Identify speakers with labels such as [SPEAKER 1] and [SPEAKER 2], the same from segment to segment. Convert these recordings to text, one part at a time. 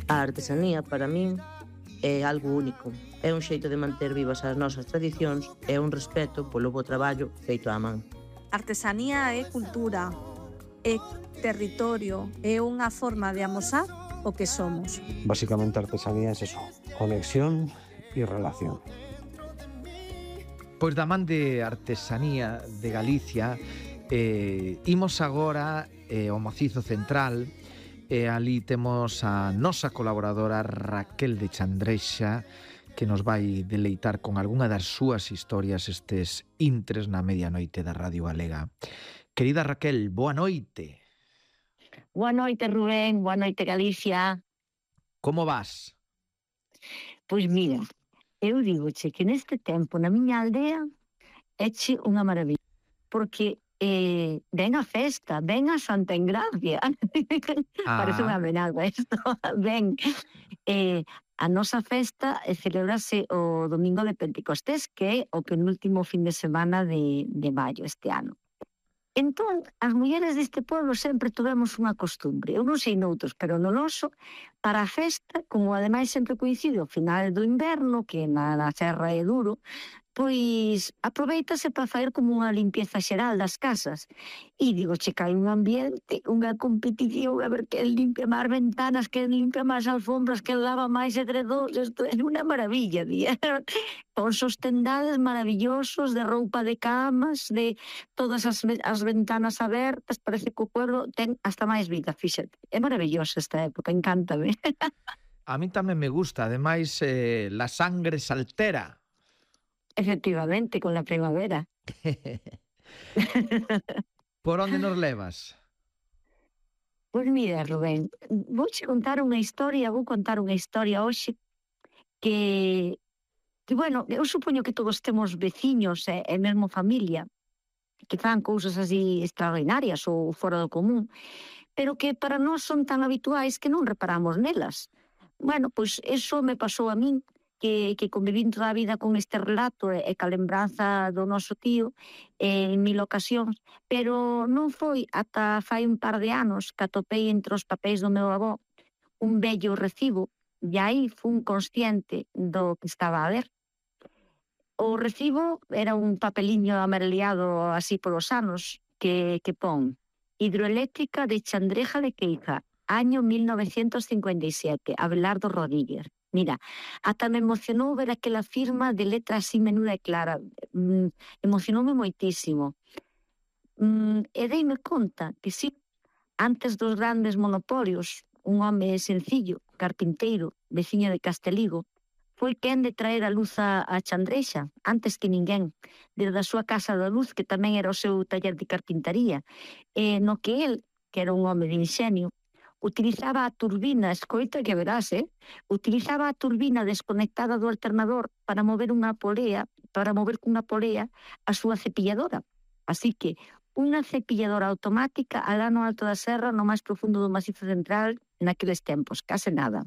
[SPEAKER 1] A artesanía, para min, é algo único. É un xeito de manter vivas as nosas tradicións e un respeto polo bo traballo feito á man.
[SPEAKER 2] Artesanía é cultura, é territorio, é unha forma de amosar o que somos.
[SPEAKER 3] Básicamente artesanía é eso, conexión e relación.
[SPEAKER 4] Pois da man de Artesanía de Galicia, imos agora ao Macizo Central, e ali temos a nosa colaboradora Raquel de Chandrexa, que nos vai deleitar con algunha das súas historias estes intres na medianoite da Radio Galega. Querida Raquel, boa noite.
[SPEAKER 5] Boa noite, Rubén, boa noite, Galicia.
[SPEAKER 4] Como vas?
[SPEAKER 5] Pois mira, eu digoche que neste tempo na miña aldea éche unha maravilla, porque ven a festa, ven a Santa Engracia. Parece unha amenaza isto. Ven, a nosa festa celebrase o domingo de Pentecostés, que é o penúltimo fin de semana de maio este ano. Entón, as mulleres deste pueblo sempre tivemos unha costumbre, eu non sei noutros, pero no noso, para a festa, como ademais sempre coincide ao final do inverno, que na serra é duro, pois aproveitase para facer como unha limpieza xeral das casas. E digo, che, hai un ambiente, unha competición, a ver quen limpia máis ventanas, quen limpia máis alfombras, quen lava máis edredóns, isto é unha maravilla, día. Con sostendades maravillosos de roupa de camas, de todas as ventanas abertas, parece que o pueblo ten hasta máis vida, fíxate. É maravillosa esta época, encántame.
[SPEAKER 4] A mí tamén me gusta, ademais, la sangre saltera.
[SPEAKER 5] Efectivamente, con la primavera.
[SPEAKER 4] Por onde nos levas?
[SPEAKER 5] Pois mira, Rubén, vou contar unha historia hoxe que, bueno, eu supoño que todos temos veciños e mesmo familia que fan cousas así extraordinarias ou fora do común, pero que para nós son tan habituais que non reparamos nelas. Bueno, pois eso me pasou a min, que convivín toda a vida con este relato e ca lembranza do noso tío en 1000 ocasións, pero non foi ata fai un par de anos que atopei entre os papéis do meu avó un vello recibo, e aí fun consciente do que estaba a ver. O recibo era un papeliño amareliado así polos anos que pon Hidroeléctrica de Chandreja de Queixa, año 1957, Abelardo Rodríguez. Mira, ata me emocionou ver aquela firma de letra así menuda e clara. Emocionoume moitísimo. E deime conta que si, antes dos grandes monopolios, un home sencillo, carpinteiro, veciño de Casteligo, foi quen de traer a luz a Chandrexa, antes que ninguén, desde a súa casa da luz, que tamén era o seu taller de carpintaría, no que el, que era un home de inxenio, utilizaba a turbina, escoita que verás, utilizaba a turbina desconectada do alternador para mover cunha polea a súa cepilladora. Así que unha cepilladora automática alá no alto da serra, no máis profundo do Macizo Central, naqueles tempos, case nada.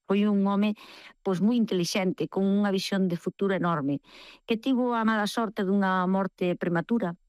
[SPEAKER 5] Foi un home pois moi intelixente, con unha visión de futuro enorme, que tivo a mala sorte dunha morte prematura,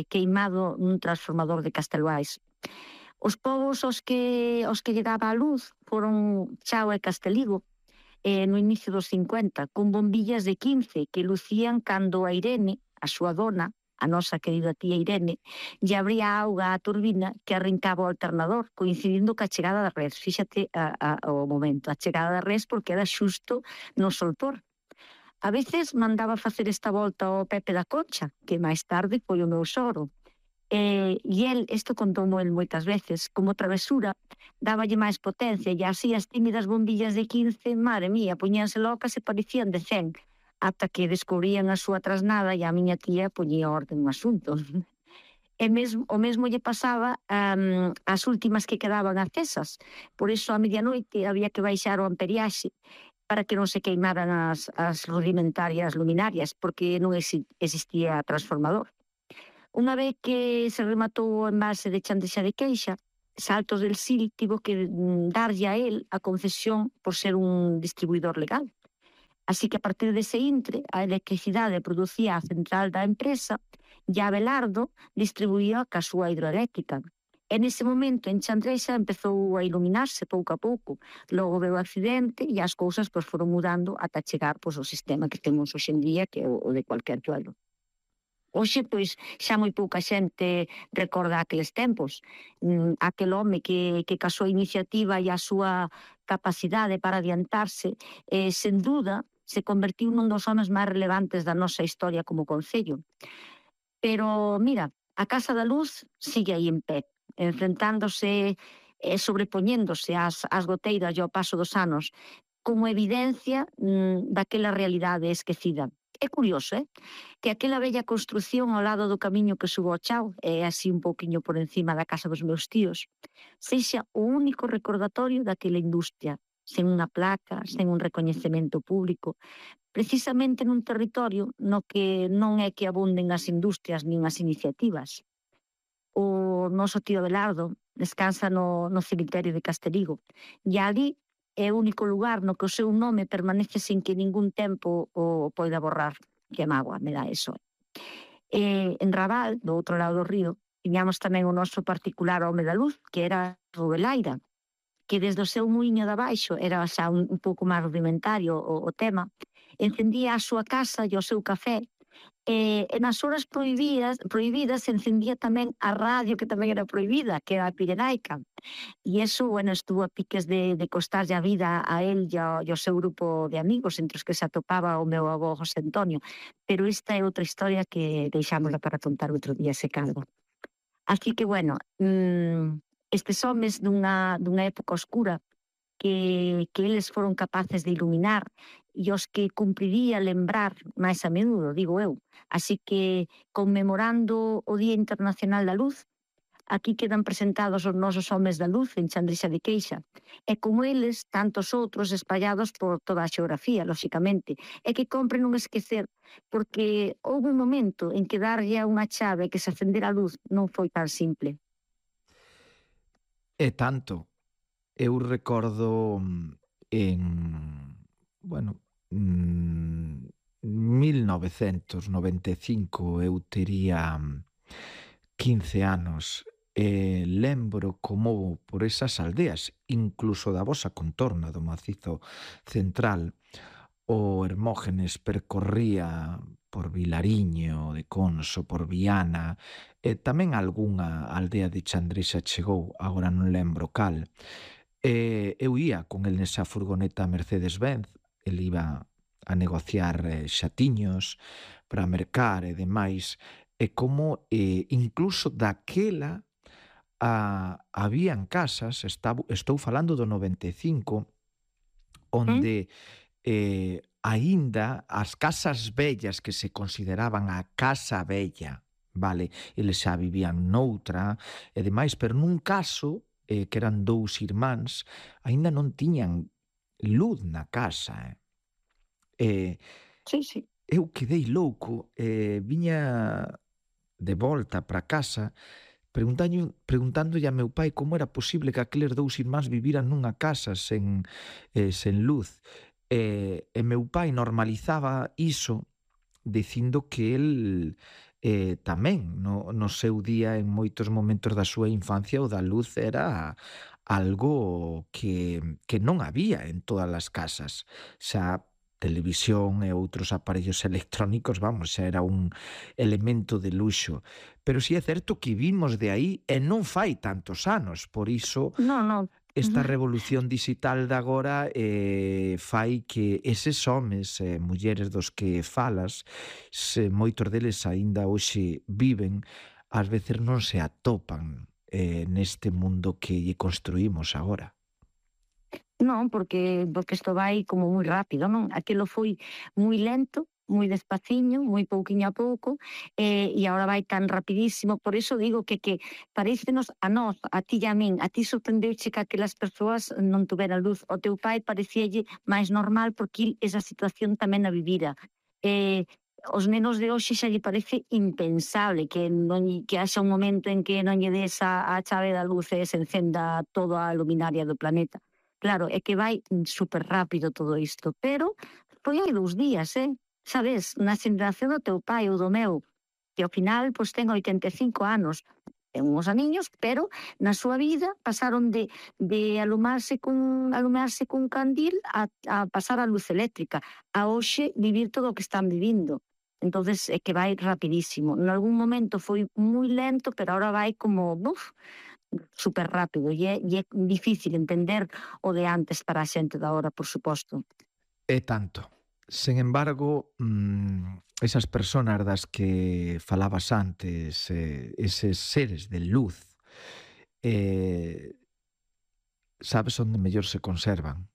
[SPEAKER 5] queimado nun transformador de Castelbais. Os povos aos que lle daba a luz foron Chao e Casteligo no inicio dos 50, con bombillas de 15 que lucían cando a Irene, a súa dona, a nosa querida tía Irene, lle abría auga á turbina que arrincaba o alternador, coincidindo ca chegada da res. Fíxate o momento, a chegada da res, porque era xusto no solpor. A veces mandaba facer esta volta ao Pepe da Concha, que máis tarde foi o meu sogro. E el, isto contoumo el moitas veces, como travesura, dáballe máis potencia, e así as tímidas bombillas de 15, madre mía, poñíanse locas e parecían de 100, ata que descubrían a súa trasnada e a miña tía poñía orden no asunto. E o mesmo lle pasaba as últimas que quedaban acesas, por iso a medianoite había que baixar o amperiaxe para que non se queimaran as rudimentarias luminarias, porque non existía transformador. Unha vez que se rematou o envase de Chandrexa de Queixa, Saltos del Sil tivo que darlle a él a concesión por ser un distribuidor legal. Así que a partir dese intre, a electricidade producía a central da empresa e a Abelardo distribuía ca súa hidroeléctrica. E nese momento en Chandrexa empezou a iluminarse pouco a pouco. Logo veu o accidente e as cousas pois, foron mudando ata chegar pois, ao sistema que temos hoxe en día, que é o de cualquier pueblo. Hoxe, pois, xa moi pouca xente recorda aqueles tempos. Aquel home que casou a iniciativa e a súa capacidade para adiantarse, sen duda, se convertiu nun dos homes máis relevantes da nosa historia como concello. Pero, mira, a Casa da Luz sigue aí en pé, enfrentándose e sobrepoñéndose ás goteiras e ao paso dos anos, como evidencia daquela realidade esquecida. É curioso, que aquela bella construción ao lado do camiño que subo ao Chao, e así un pouquiño por encima da casa dos meus tíos, sexa o único recordatorio daquela industria, sen unha placa, sen un recoñecemento público, precisamente nun territorio no que non é que abunden as industrias nin as iniciativas. O noso tío Belardo descansa no cemiterio de Casterigo e ali é o único lugar no que o seu nome permanece sin que ningún tempo o poida borrar. Que mágoa me dá eso. En Raval, do outro lado do río, tiñamos tamén o noso particular home da luz, que era Rubelaira, que desde o seu muiño de abaixo era xa un pouco máis rudimentario o tema, encendía a súa casa e o seu café, e nas horas prohibidas encendía tamén a radio, que tamén era prohibida, que era a Pirenaica. E iso, bueno, estuvo a piques de costarlle a vida a él e ao seu grupo de amigos, entre os que se atopaba o meu avó José Antonio. Pero esta é outra historia que deixámosla para contar outro día, se calma. Así que, bueno, estes homes dunha época oscura que eles foron capaces de iluminar e os que cumpriría lembrar máis a menudo, digo eu. Así que, conmemorando o Día Internacional da Luz, aquí quedan presentados os nosos homes da luz en Chandrexa de Queixa. E como eles, tantos outros espallados por toda a xeografía, lóxicamente. E que compre non esquecer, porque houve un momento en que darlle a unha chave que se acendera a luz non foi tan simple.
[SPEAKER 4] E tanto. Eu recordo en, 1995 eu tería 15 anos e lembro como por esas aldeas, incluso da vosa contorna do Macizo Central, o Hermógenes percorría por Vilariño de Conso, por Viana, e tamén algunha aldea de Chandrexa chegou, agora non lembro cal. Eu ia con el nesa furgoneta Mercedes-Benz, el iba a negociar xatiños para mercar e demais, e como incluso daquela habían casas, estou falando do 95, onde aínda as casas vellas que se consideraban a casa vella, vale, eles xa vivían noutra e demais, pero nun caso que eran dous irmáns, aínda non tiñan luz na casa.
[SPEAKER 5] Sí.
[SPEAKER 4] Eu quedei louco, viña de volta para casa preguntándolle a meu pai como era posible que aqueles dous irmáns viviran nunha casa sen luz. E meu pai normalizaba iso dicindo que el tamén no seu día, en moitos momentos da súa infancia, o da luz era algo que non había en todas as casas. Xa televisión e outros aparellos electrónicos, xa era un elemento de luxo. Pero si é certo que vimos de aí e non fai tantos anos, por iso esta revolución digital de agora fai que eses homes e mulleres dos que falas, moitos deles aínda hoxe viven, ás veces non se atopan neste mundo que lle construímos agora.
[SPEAKER 5] Non, porque isto vai como moi rápido, non? Aquilo foi moi lento, moi despaciño, moi pouquiño a pouco, e agora vai tan rapidísimo. Por iso digo que parécenos a nós, a ti e a min, a ti sorprendeuche que aquelas persoas non tuveran luz, o teu pai parecíalle máis normal porque esa situación tamén a vivira. Os nenos de hoxe xa lle parece impensable que haxa un momento en que non lle des a chave da luz e se encenda toda a luminaria do planeta. Claro, é que vai super rápido todo isto, pero foi hai 2 días, sabes, na xeneración do teu pai ou do meu, que ao final pois ten 85 anos, ten uns aniños, pero na súa vida pasaron de alumarse cun candil a pasar a luz eléctrica, a hoxe vivir todo o que están vivindo. Entonces é que vai rapidísimo. En algún momento foi moi lento, pero ahora vai como super rápido, e é difícil entender o de antes para a xente da hora, por suposto.
[SPEAKER 4] É tanto. Sen embargo, esas personas das que falabas antes, eses seres de luz, sabes onde mellor se conservan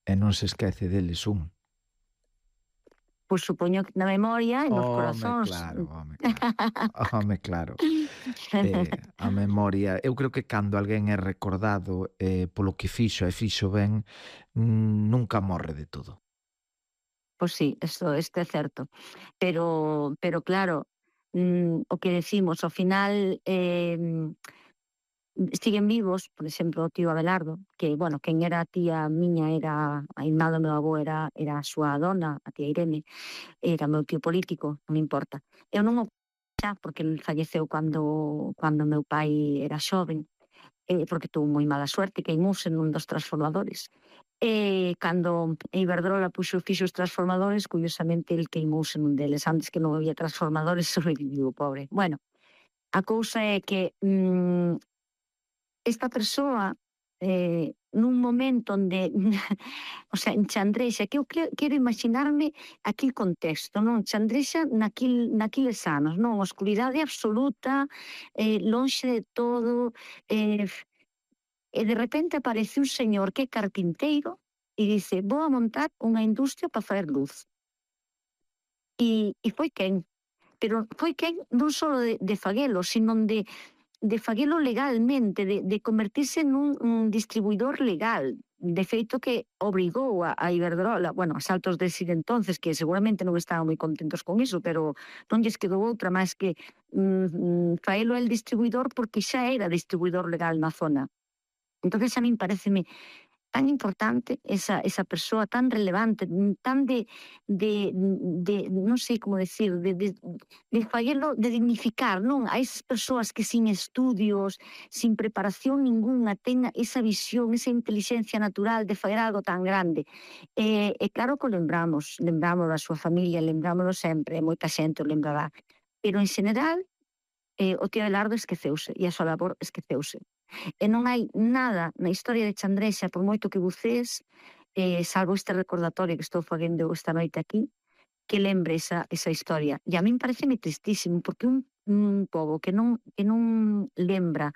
[SPEAKER 4] e non se esquece deles un.
[SPEAKER 5] Pois supoño que na memoria e nos corazóns.
[SPEAKER 4] Home, claro. A memoria, eu creo que cando alguén é recordado polo que fixo e fixo ben, nunca morre de todo.
[SPEAKER 5] Pois sí, isto é certo. Pero claro, o que decimos, ao final siguen vivos, por exemplo, o tío Abelardo, que, bueno, quen era a tía miña era a irmá do meu avó, era a súa dona, a tía Irene, era meu tío político, non me importa. Eu non o xa, porque ele falleceu cando meu pai era xoven, porque tuvo moi mala suerte, queimouse nun dos transformadores. Cando Iberdrola fixo os transformadores, curiosamente el queimouse nun deles, antes que non había transformadores, sobreviviu o pobre. Bueno, a cousa é que esta persoa, nun momento onde, o sea, en Chandrexa, que eu quero imaginarme aquel contexto, non? Chandrexa naquiles anos, non? Oscuridade absoluta, lonxe de todo, e de repente aparece un señor que é carpinteiro e dice, vou a montar unha industria para facer luz. E foi quen? Pero foi quen non só de faguelo, sino de faguelo legalmente, de convertirse nun distribuidor legal. De feito que obrigou a Iberdrola, bueno, a Saltos de Sil entonces, que seguramente non estaban moi contentos con iso, pero non lles quedou outra máis que faelo el distribuidor, porque xa era distribuidor legal na zona. Entonces a min pareceme tan importante esa persoa tan relevante, tan de non sei como decir, de faguelo, de dignificar, non? A esas persoas que sin estudios, sin preparación ninguna, ten esa visión, esa inteligencia natural de fazer algo tan grande. E claro que o lembramos da súa familia, lembrámoslo sempre, moita xente o lembrará. Pero en general, o tío Abelardo esqueceuse, e a súa labor esqueceuse. E non hai nada na historia de Chandrexa, por moito que bucees, salvo este recordatorio que estou facendo esta noite aquí, que lembre esa historia. E a min pareceme tristísimo, porque un pobo que non lembra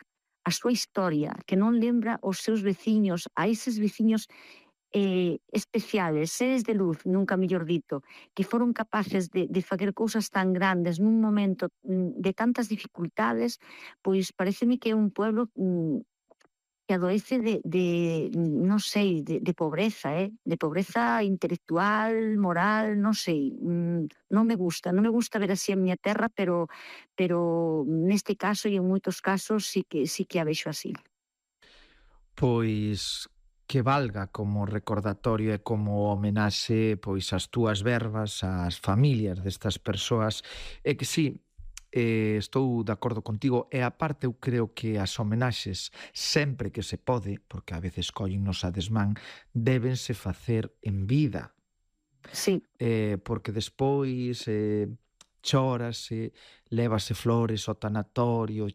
[SPEAKER 5] a súa historia, que non lembra os seus veciños, a eses veciños especiales, seres de luz, nunca mellor dito, que foron capaces de facer cousas tan grandes nun momento de tantas dificultades, pois pareceme que é un pueblo que adoece non sei, de pobreza, de pobreza intelectual, moral, non sei, non me gusta ver así a miña terra, pero neste caso e en moitos casos sí que a vexo así.
[SPEAKER 4] Pois que valga como recordatorio e como homenaxe pois as túas verbas, ás familias destas persoas, e que sí, estou de acordo contigo, e aparte eu creo que as homenaxes sempre que se pode, porque a veces collennos a desmán, débense facer en vida.
[SPEAKER 5] Sí.
[SPEAKER 4] Porque despois chórase, lévase flores ao tanatorio,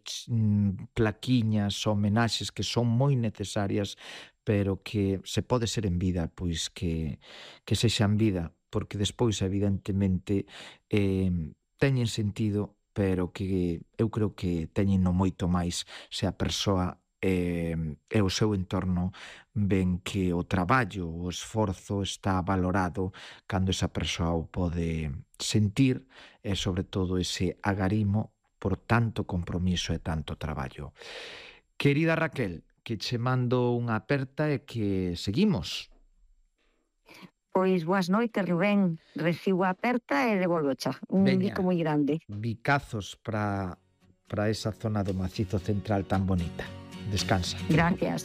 [SPEAKER 4] plaquiñas, homenaxes que son moi necesarias, pero que se pode ser en vida, pois que sexa en vida, porque despois evidentemente teñen sentido, pero que eu creo que teñen moito máis se a persoa e o seu entorno ven que o traballo, o esforzo está valorado cando esa persoa o pode sentir, e sobre todo ese agarimo por tanto compromiso e tanto traballo. Querida Raquel, que che mando unha aperta e que seguimos.
[SPEAKER 5] Pois boas noites, Rubén. Recibo a aperta e devolvo xa. Un bico moi grande.
[SPEAKER 4] Bicazos para esa zona do Macizo Central tan bonita. Descansa.
[SPEAKER 5] Gracias.